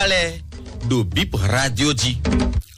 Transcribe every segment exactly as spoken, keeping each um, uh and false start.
lɛ ɖo Bip Radio jí.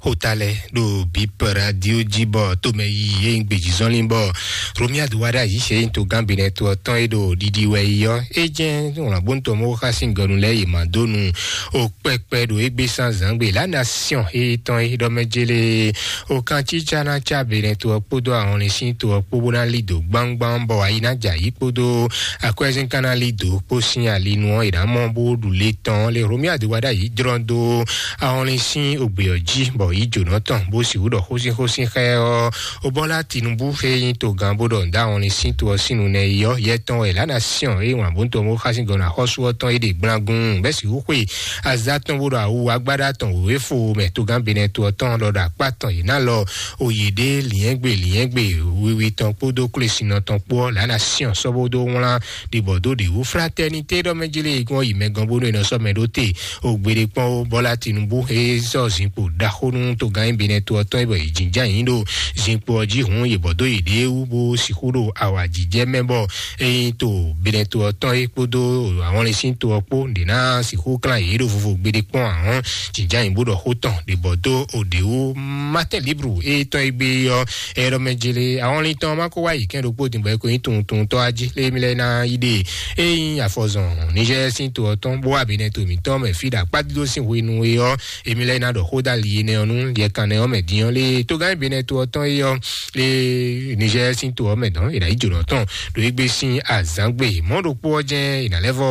Xota lɛ ɖo Bip Radio jí bɔ tomɛ yi e nyí gbejizɔnlin bɔ Romuald Wadagni e nyí togán Benɛto ɔ́ tɔn e ɖo ɖiɖi wɛ yi ɔ́, é jɛ́n wlǎnbóntɔ́ mɔ xá sín gɔnu lɛ́ɛ yi mǎ dó nu o kpɛkpɛ ɖo égbé sán zǎngbe La Nation e tɔn e ɖɔ mɛ jélé o kan cícá ná cá Benɛto ɔ́ kpódó ahɔnlin sín to ɔ́ kpó bó ná lí dǒ gbámgbám bɔ ayi ná jɛ ayǐ kpódó akwɛ́zín ka ná lí dǒ kpó sín ali nu ɔ́, è nǎ mɔ bó ɖu le tɔn lé Romuald Wadagni jlɔ́n dó ahɔnlin sín ògbè ɔ́ jí, bɔ yí jǒnɔ tɔn bó sixú ɖɔ xósínxósín xá ɛ ɔ́, Obɔla Tinubu e nyí togán bó ɖɔ nǔ dó ahɔnlin sín to ɔ́ sín nu nɛ́ yi ɔ́, yɛ tɔn wɛ La Nation e wǎn bó tɔn bó xá sín gɔ̌n axɔ́sú ɔ́ tɔn é ɖe gblangun bɛ́ sixú xwe azǎ tɔn bó ɖɔ awu agbáɖá tɔn wěwé fo mɛ togán Benɛto ɔ́ tɔn ɖɔ ɖo akpá tɔn yě ná lɔ oyěɖé lǐnyɛ́gbe lǐnyɛ́gbe wiwi tɔn kpódó klwesínɔ tɔn kpó ɔ́, La Nation sɔ́ bó dó wlán ɖibɔ dó ɖě wú. Fraternité ɖɔ mɛ jlé e gɔ́n yi mɛ gɔ́n bónú è nɔ sɔ́ mɛ ɖó te o gbeɖé kpɔ́n ó. Bɔla Tinubu e sɔ́ zinkpo ɖaxó nú togán Benɛto ɔ́ tɔn e bɔ yě jínján yǐ ɖo zinkpo ɔ́ jí hǔn, yě bɔ dó yěɖée wú bó sixú ɖo awǎjijɛ mɛ bɔ ényí to Benɛto ɔ́ tɔn é kpódó ahɔnlin sín to ɔ́ kpó ɖě ná sixú klán yě ɖo vovo gbeɖé kpɔ́n ahɔn jínján yǐ bó ɖɔ xó tɔn ɖě bɔ dó o ɖě wú. Matin Libre e tɔn e gbé ɔ́, ɛyɔ́ mɛ jele ahɔnlin tɔn ma ko wá yi kɛn ɖokpó din bɔ é ko nyí tunwun tunwun tɔ́ ají lé mi lɛ́ ná yi ɖe. Ényí afɔzɔn Niger sín to ɔ́ tɔn bó wá Benɛto mǐtɔn mɛ fí ɖo akpá dídó sín hwenu é ɔ́, èmi lɛ́ ná ɖɔ xó dó ali énɛ́ ɔ́ nú yɛkan nɛ́ ɔ́ mɛ din ɔ́ lé togán Benɛto ɔ́ tɔn é ɔ́, lé Niger sín to ɔ́ mɛ dɔn è nǎ yi jǒnɔ tɔn ɖo égbé sín azǎngbe mɔ̌ ɖokpó ɔ́ jɛ́n è nǎ lɛ́ vɔ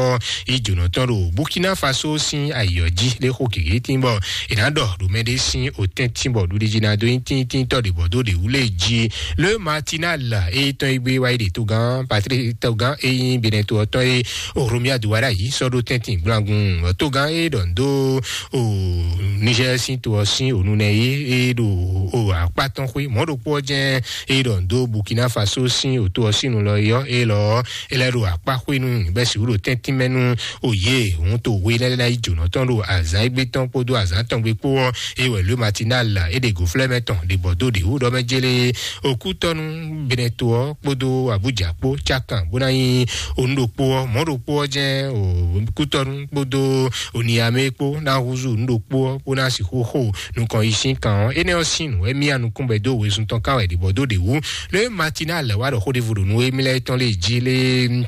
yi jǒnɔ tɔn ɖo Burkina Faso sín ayǐ ɔ́ jí lé xó gěgé tín bɔ è nǎ ɖɔ ɖo mɛɖé sín otɛ́ntin bɔ ɖuɖíjí ná dó nyí tíntíntɔ́ ɖě bɔ dó ɖě wú lé jí. Le Matinal e tɔn e gbé wáyé ɖe togán Patrick togán e nyí Benɛto ɔ́ tɔn e Romuald Wadagni sɔ́ ɖó tɛ́ntin gblangun togán e ɖɔ dó o Niger sín to ɔ́ sín ònunɛ e e ɖo o akpá tɔn xwé mɔ̌ ɖokpó ɔ́ jɛ́n e ɖɔ dó Burkina Faso sín òto ɔ́ sín nu lɔ é ɔ́, é lɔ ɔ́ é lɛ́ ɖo akpá xwé nú bɛ́ sixú ɖo tɛ́ntin mɛ nú o yě hun to we lɛ́ lɛ́ ná yi jǒnɔ tɔn ɖo azǎn égbé tɔn kpódó azǎn tɔn gbe kpó ɔ́, é wɛ Le Matinal é ɖe gǒflɛ́mɛ tɔn ɖě bɔ dó ɖě wú ɖɔ mɛ jélé okútɔ́nú Benɛto ɔ́ kpódó Abuja kpó cákan bó ná nyí onú ɖokpó ɔ́, mɔ̌ ɖokpó ɔ́ jɛ́n okútɔ́nú kpódó Oniamé kpó ná húzú nǔ ɖokpó ɔ́ bó ná sixú xo nukɔn yi sín kan ɔ́. Énɛ́ ɔ́ sín nǔ wɛ mía nukún bɛ́ dó wezun tɔn ká wɛ ɖě bɔ dó ɖě wú. Le Matinal wá ɖɔ xó ɖěvo ɖo nú émí lɛ́ɛ tɔn lé jí lé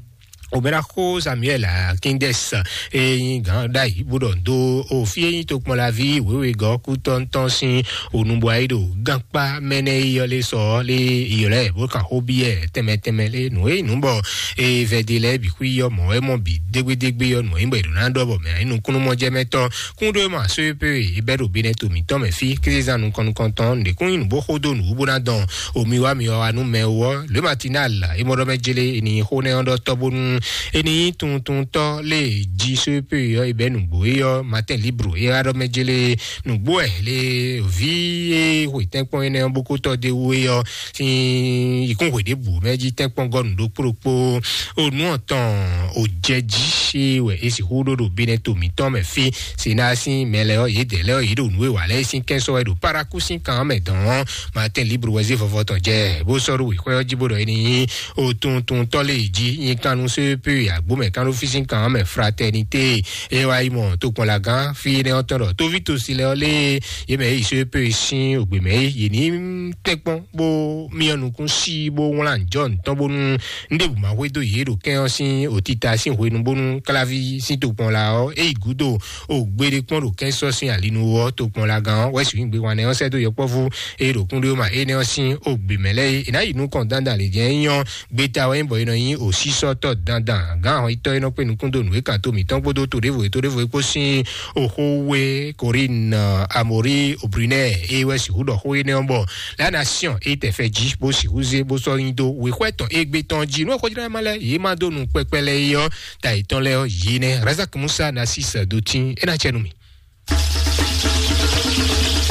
Obɛ́ɖaxó Samuel Akíndɛs e nyí gǎn ɖ'ayǐ bó ɖɔ dó o fí e nyí tokpɔnlaví wěwegɔ́ kútɔ́ntɔ́n sín onubɔ ayí ɖo gánkpá mɛnɛ yi ɔ́ lé sɔ ɔ́ lé ylɔ́ ɛ bó kan xó byɔ́ ɛ tɛnmɛ tɛnmɛ lé nǔ e nyí nǔ bɔ e vɛdé lɛ́ɛ bǐ xwí ɔ́ mɔ̌ wɛ mɔ bǐ dégbédégbé ɔ́ nǔ e nyí bɔ è ɖǒ ná ɖɔ bɔ mɛ nukúnnú mɔjɛmɛtɔ́ kúnɖó e ma só e pé e bɛ́ ɖo Benɛto mǐtɔn mɛ fí kézezán nukɔn nukɔntɔn nǔɖé kún nyí nǔ bó xó dó nǔ wú bó ná dɔn omi wá mi wá wá nú mɛ ó ɔ́, lě Matinal é mɔ ɖɔ mɛ jlé è nǐ xó nɛ́ ɔ́ ɖɔ tɔ́ bónú è nǐ nyí tunwuntunwuntɔ́ lé jí só e pé ɔ́ è bɛ́ nǔgbó é ɔ́ Matin Libre é wá ɖɔ mɛ jlé nǔgbó ɛ lé vǐ e xwe tɛ́nkpɔ́n énɛ́ ɔ́ bó kó tɔ́ dó é wú é ɔ́ sín yǐkúnxwe ɖěbǔ mɛ jí tɛ́nkpɔ́n gɔ́ nǔ ɖokpó ɖokpó. O nǔ ɔ̀tɔn o jɛ jí é wɛ é sixú ɖó ɖo Benɛto mǐtɔn mɛ fí. Sena sín mɛ lɛ́ɛ ɔ́, yědɛɛ lɛ́ɛ ɔ́, yě ɖo nǔ e wa lɛ́ɛ sín kɛ́n sɔ́ wɛ ɖo Paraku sín kan ɔ́ mɛ dɔn ɔ́, Matin Libre wɛ zé vɔvɔ tɔn jɛ bó sɔ́ ɖó wěxwɛ́ ɔ́ jí bó ɖɔ é ní nyí o tunwuntunwuntɔ́ lé jí nyi kan nú só e pé agbó mɛ kan ɖó fí sín kan ɔ́ mɛ Fraternité. É wá yi mɔ tokpɔnlagán fí énɛ́ ɔ́ tɔn ɖɔ tóví tosi lɛ́ɛ ɔ́ lé yě mɛ yě yi só e pé sín ògbè mɛ é yě ní tɛ́nkpɔ́n bó myɔ nukún sí bó wlán jɔ ntɔn bónú un ɖěbǔ ma hwedó yě ɖo kɛ́n ɔ́ sín òtita sín hwenu bónú kláví sín tokpɔn la ɔ́ é yi gǔdo o gbeɖé kpɔ́n ɖo kɛ́n sɔ́ sín alinu ɔ́ tokpɔn la gán ɔ́ wɛ sixú gbé wan nɛ́ ɔ́ sɛ́ dó yɔkpɔ́vú é ɖo kúnɖó ma énɛ́ ɔ́ sín o gbě mɛ lɛ́ɛ é ná yi nukɔn dandan lě jɛ́n é nyɔ́ gbeta wɛ nyí bɔ è nɔ nyí òsísɔ́tɔ́ dandan gǎn ahɔnyitɔ́ e nɔ kpé nukún dó nǔ e kan to mǐtɔn kpódó to ɖěvo e to ɖěvo é kpó sín oxó we Corinne Amori Obrunɛ é wɛ sixú ɖɔ xó énɛ́ ɔ́ bɔ La Nation é tɛ fɛ jí bó sixú zé bó sɔ́ nyi dó wěxwɛ́ tɔn égbé tɔn jí nú xójlɛ́ ma lɛ́ɛ yě má dó nu kpɛkpɛ lɛ́ɛ é ɔ́ ta yětɔn lɛ́ɛ ɔ́ yě nɛ́ Razak Musa na sí sɛ dó tín é ná cɛ nú mì.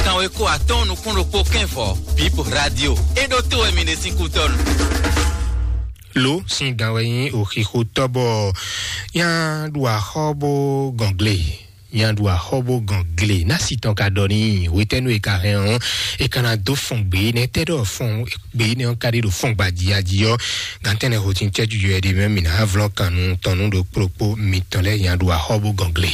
Kanwe kó atɔ́ɔ́n nukún ɖokpó kɛ́nvɔ Bip Radio é ɖó tó wɛ mi ɖe sín kútɔ́nu. Lo sín gan wɛ nyí òxixo tɔ́ bɔ nya ɖu axɔ́ bó gɔn gle nya ɖu axɔ́ bó gɔn gle ná si tɔn ka ɖɔ ní hwetɛ́nu e ka hɛn ɔ́ e ka ná dó fɔn gbé nɛ tɛ ɖɔ fɔn gbé nɛ ɔ́ ka ɖi ɖo fɔn gbajiyaji ɔ́ gantɛnɛ ho tin cɛju yɔ ɛɖi mɛ mi ná vlɔ́ kan nu tɔn nu ɖo kplokpó mitɔn lɛ nya ɖu axɔ́ bó gɔn gle.